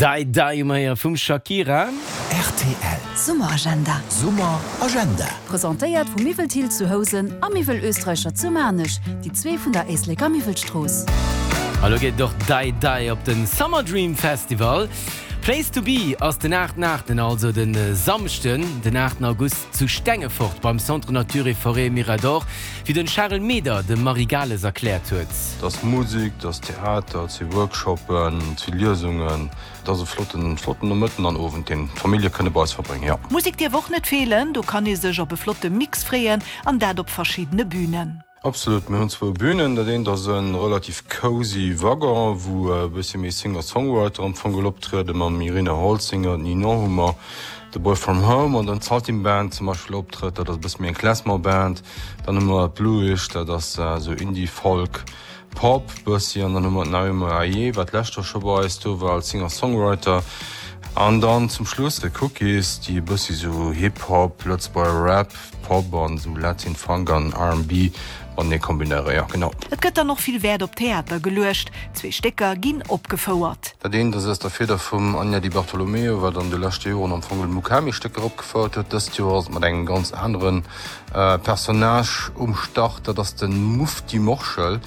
Dai Dai um Héier vum Shakira. Rtl. Summeragenda. Summeragenda. Presentéiert vu Miwwel Thill zu Housen a Miwwel Österreicher zu Maarnech, déi zwee vun der Éisleker Miwwelstrooss. A lo geet et och Dai Dai op den Summer Dream Festival. Place to be ass den 8 8, also den Samschden den 8 August zu Stengefort beim Centre Nature et Forêt Mirador, wéi den Charel Meder dem Marie Gales erkläert huet. Et ass Musek, et ass Theater, et si Workshoppen, et si Liesungen. Et ass e flotten, flotten Nomëtten an Owend, deen d'Famillje kënne bei eis verbréngen, jo. Musek dierf och net feelen, do kann ee sech op e flotte Mix freeën an dat op verschiddene Bünen. Absolut, mir hunn zwou Bünen. Dat eent ass e relativ cozy Waggon, wou e bëssi méi Singer-Songwriter am Fong geholl optrieden, mam Irina Holzinger, d'Ninon hu mer, The Boy From Home an dann d'Saltin Band zum Beispill optrëtt, dat ass e bësse méi eng Klezmer-Band. Dann hu mer d'Bluish, dat ass esou Indie-Folk. Pop bëssi an dann hu mer d'Naomi Ayé, wat d'lescht Joer scho bei eis do war als Singer-Songwriter. An dann zum Schluss The Cookies, déi e bëssi sou Hip-Hop, Lëtzebuerger Rap, Pop an sou Latin Funk an R&B matenee kombinéieren. Jo, genau. Et gëtt dann och vill Wäert op Theater geluecht. Zwee Stécker ginn opgefouert. Dat eent ass aus der Fieder vum Anja Di Bartolomeo, wat an de leschte Joren am Fong Mukami-Stécker opgefouert huet. Dëst Joer ass et mat engem ganz anere Personnage um Start, dat ass de Mufti Morschel.